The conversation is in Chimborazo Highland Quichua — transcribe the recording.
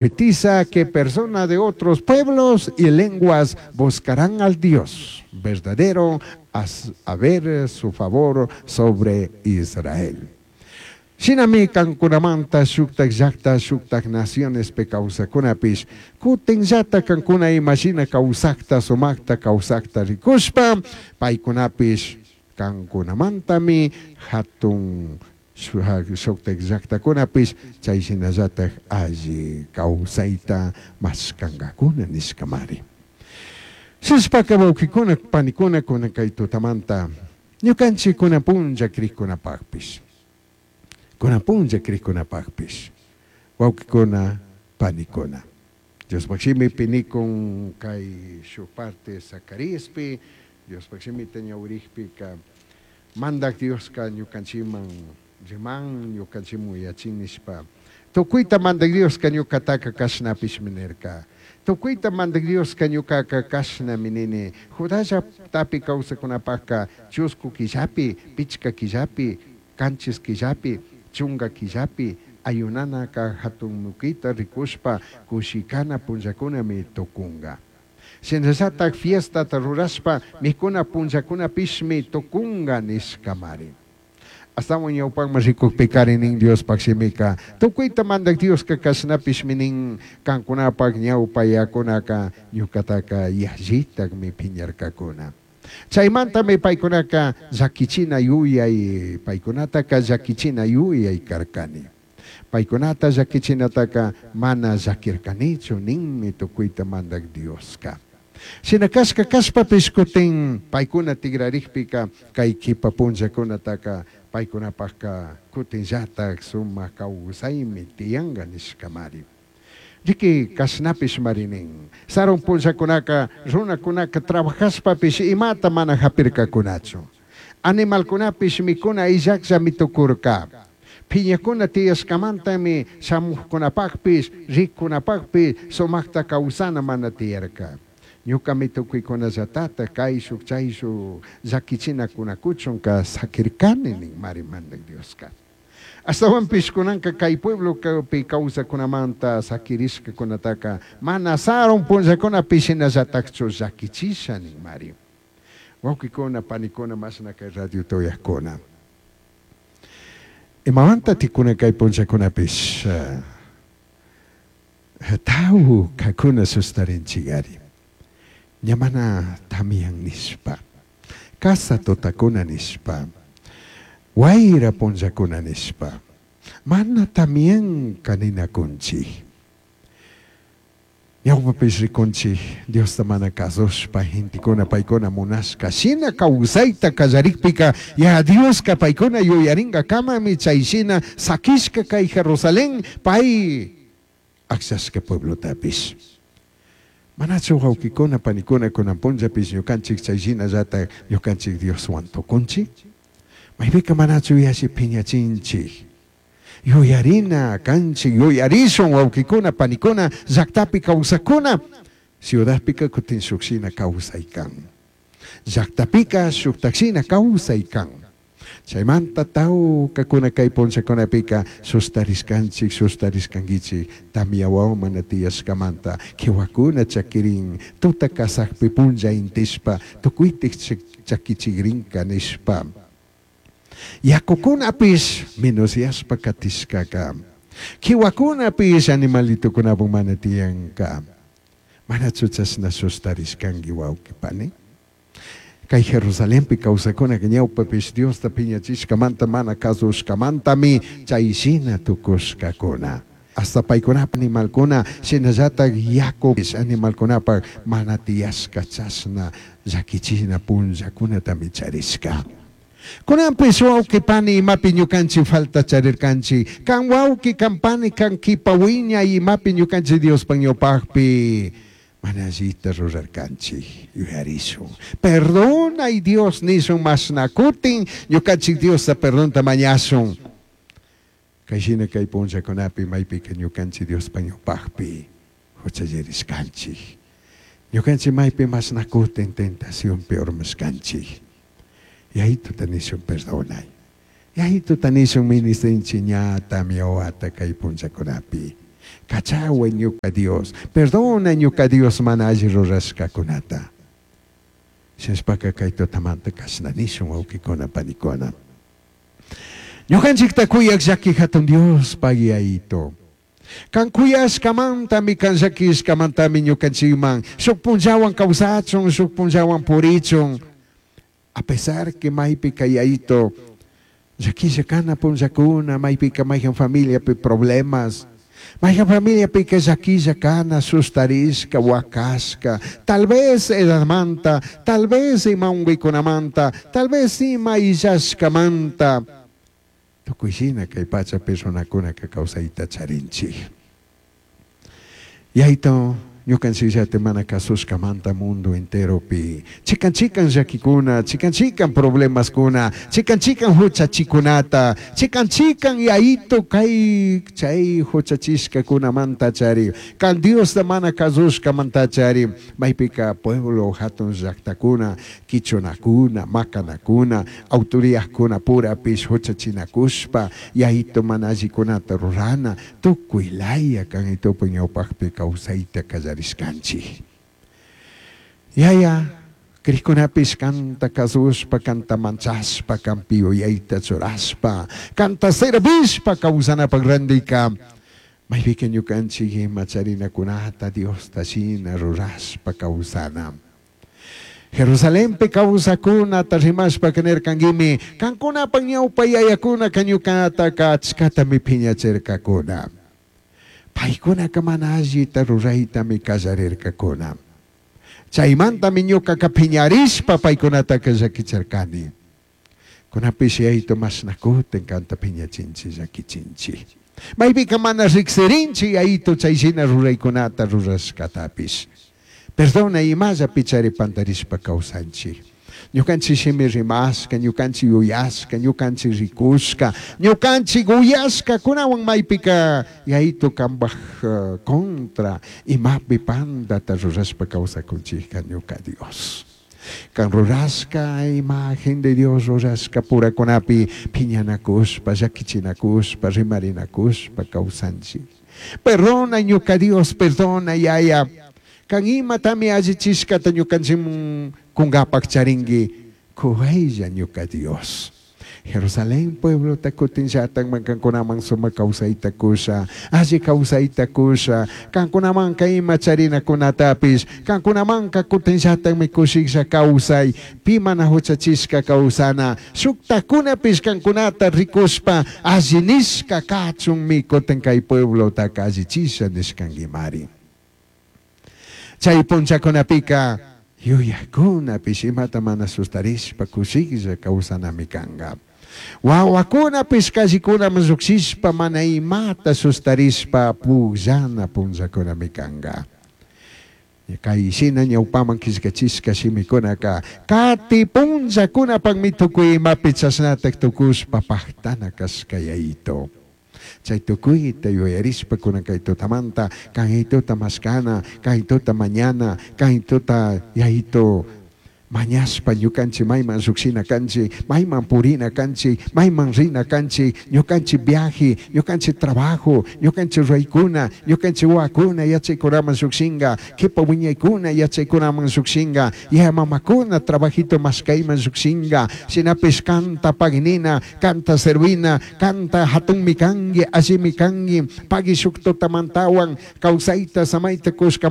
Profetiza que personas de otros pueblos y lenguas buscarán al Dios verdadero a ver su favor sobre Israel. Shinami cancunamanta shujtaj llajta, shujtaj nacionespi causajcunapish cutinllata cancuna ima shina causajta, sumajta causajta ricushpa, paicunapish cancunamantami jatun shujtaj llajtacunapish chai shinallataj alli causaita mashcangacuna nishcamari. Shishpaca huauquicuna, panicuna, cunan cai tutamanta ñucanchij cunan punlla crijcunapajpish, cunan punlla crijcunapajpish, huauquicuna, panicuna, Diospaj shimipi nicun cai shuj parte Zacariaspi, Diospaj shimita ñahuirijpica, Mandaj Diosca ñucanchijman riman, ñucanchijman uyachin nishpa, Tucuita Mandaj Diosca ñucataca cashnapishmi nirca. Tucuita Mandaj Diosca ñucaca cashnami nini, Judá llajtapi causajcunapajca chuscu quillapi, pichca quillapi, canchis quillapi, chunga quillapi ayunanaca jatun muquita ricushpa cushicana punllacunami tucunga. Shinallataj fiestata rurashpa micuna punllacunapishmi tucunga nishcamari. Ashtahuan ñaupajman ricujpicari nin Diospaj shimica, Tucuita Mandaj Diosca cashnapishmi nin, Cancunapaj ñaupa yacunaca ñucataca yallitajmi piñarcacuna. Chaimantami paicunaca llaquichina yuyai, paicunataca llaquichina yuyai carcani. Paicunata llaquichinataca mana llaquircanichu ninmi tucuita Mandaj Diosca. Shina cashca cashpapish cutin paicuna tigrarijpica cai quipa punllacunataca paicunapajca cutinllataj sumaj causaimi tiyanga nishcamari. Riqui, cashnapishmari nin, Sarun punllacunaca runacunaca trabajashpapish imata mana japircacunachu. Animalcunapish micuna illajllami tucurca. Piñacuna tiyashcamantami shamujcunapajpish, rijcunapajpish sumajta causana mana tiyarca. Ñucami tucuicunallatataj caishuj chaishuj llaquichinacunacuchunca saquircani ninmari Mandaj Diosca. Ashtahuanpish cunanca cai pueblopi causajcunamanta saquirishcacunataca mana sarun punllacunapi shinallatajchu llaquichisha ninmari. Huauquicuna, panicuna, mashna cai radiota uyajcuna. Imamanta cunan cai punllacunapish taucacuna sustarinchigari? Ña mana tamian nishpa, casa tutacuna nishpa, huaira punllacuna nishpa, mana tamianca ninacunchij. Ñaupapish ricunchij Diosta mana cazushpa gentecuna paicuna munashca shina causaita callarijpica ya Diosca paicuna yuyaringacamami chai shina saquishca cai Jerusalén pai agllashca pueblotapish. Manachu huauquicuna, panicuna cunan punllapish ñucanchij chai shinallataj ñucanchij Dioshuan tucunchij? Maipica manachu yalli piñachinchij? Yuyarina canchij, yuyarishun huauquicuna, panicuna, llajtapi causajcuna, ciudadpica cutin shuj shina causai can. Llajtapica shujtaj shina causai can. Chaimanta taucacuna cai punllacunapica sustarishcanchij, sustarishcanguichij, tamya huahua mana tiyashcamanta, quihuacuna chaquirin, tuta casajpi punlla intishpa, tucuitij chaquichigrinca nishpa. Yacucunapish menosyashpa catishcaca, quihuacunapish animalitocunapu mana tiyanca. Manachu chashna sustarishcangui huauqui pani? Cai Jerusalenpi causacunaca ñaupapish Diosta piñachishcamanta mana cazushcamantami chai shina tucushcacuna. Hasta paicunapaj animalcuna shinallataj yacupish animalcunapaj mana tiyashca chashna llaquichina punllacunatami charishca. Cunanpish huauqui pani imapi ñucanchij falta charircanchij, can huauqui, can pani, can quipa huiñai imapi ñucanchij Diospaj ñaupajpi mana allita rurarcanchij, yuyarishun. Perdonai Dios nishun mashna cutin ñucanchij Diosta perdonta mañashun. Cai shina cai punllacunapi maipica ñucanchij Diospaj ñaupajpi juchallirishcanchij. Ñucanchij maipi mashna cutin tentacionpi urmashcanchij. Yaituta nishun perdonai. Yaituta nishun ministrinchij ña tamya huata cai punllacunapi. Cachahuai ñuca Dios, perdona ñuca Dios mana alli rurashcacunata. Shinashpaca kay tutamanta cashna nishun wawkikuna panikuna. Ñukanchikta kuyak llaki hatun Dios Yayito. Kan kuyashkamantami, kan llakishkamantami ñukanchikman shuk punllawan kawsachun, shuk punllawan purichun. A pesar que maypika Yayito llakilla kana punllakuna, maypika mayjan familiapi problemas, mayjan familiapika llakilla kana, sustarishka, wakashka, tal vez edadmanta, tal vez ima unkuykunamanta, tal vez ima illashkamanta. Tukuy shina kay pachapi runakunaka kawsayta charinchik. Yayito, ñukanchikllata mana kasushkamanta mundo enteropi chikan chikan llakikuna, chikan chikan problemaskuna, chikan chikan huchachikunata, chikan chikan Yayito kay chay huchachishkakunamanta chari, kan Diosta mana kasushkamanta chari, maypika pueblo hatun llaktakuna, kichunakuna, makanakuna, autoridadkuna purapish huchachinakushpa, Yayito mana allikunata rurana, tukuy laya kan itupu ñawpakpi kawsayta kallarishkanchik. Yaya, krikunapish kanta kasushpa, kanta manchashpa, kanpi yuyayta churashpa, kanta servishpa kawsanapak randika, maypika ñukanchik ima charinakunata Diosta shina rurashpa kawsana. Jerusalenpi kawsakunata rimashpa nirkankimi, kankunapak ñawpa yayakunaka ñukataka achkatami phiñachirkakuna. Paykunaka mana allita ruraytami kallarirkakuna. Chaymantami ñukaka phiñarishpa paykunataka llakichirkani. Kunapish Yayito mashna kutin kanta phiñachinchik llakichinchik. Maypika mana riksirinchik Yayito chay shina ruraykunata rurashkatapish. Perdona imallapi chari pantarishpa kawsanchik. Ñukanchik shimi rimashka, ñukanchik yuyashka, ñukanchik rikushka, ñukanchik uyashkakunawan maypika Yayito kanpaj contra imapi pandata rurashpa kawsakunchikka ñuka Dios. Kan rurashka imagen de Dios rurashka purakunapi phiñanakushpa, llakichinakushpa, rimarinakushpa kawsanchik. Perdona ñuka Dios, perdona Yaya. Kan imatami allichishkata ñukanchikman kunkapak charinki, kuwaylla ñuka Dios. Jerusalén pueblota kutinllatakman kankunaman sumak kawsayta kusha, alli kawsayta kusha, kankunamanka ima charinakunatapish, kankunamanka kutinllatakmi kushiklla kawsay, pi mana huchachishka kawsana, shuktakunapish kankunata rikushpa alli nishka kachunmi kutin kay pueblotaka allichisha nishkankimari. Chay punllakunapika yuyakunapish imata mana sustarishpa kushiklla kawsanami kanka. Wawakunapish callikunaman llukshishpa mana imata sustarishpa pukllana punllakunami kanka. Kay shina ñawpaman killkachishka shimikunaka kati punllakunapakmi tukuy imapi chashnatak tukushpa paktana kashka Yayito. Chay tukuyta yuyarishpa kunan kay tutamanta kaytuta mashkana, kaytuta mañana, kaytuta Yayito mañashpa ñukanchik mayman llukshina kanchik, mayman purina kanchik, mayman rina kanchik, ñukanchik viaje, ñukanchik trabajo, ñukanchik ruraykuna, ñukanchik wawakuna yachaykunaman llukshinka, kipa wiñaykuna yachaykunaman llukshinka, yaya mamakuna trabajito mashkayman llukshinka, shinapish kanta paginina, kanta servina, kanta hatunmi kanki, allimi kanki, pagui shuk tutamantawan kawsayta samayta kushka.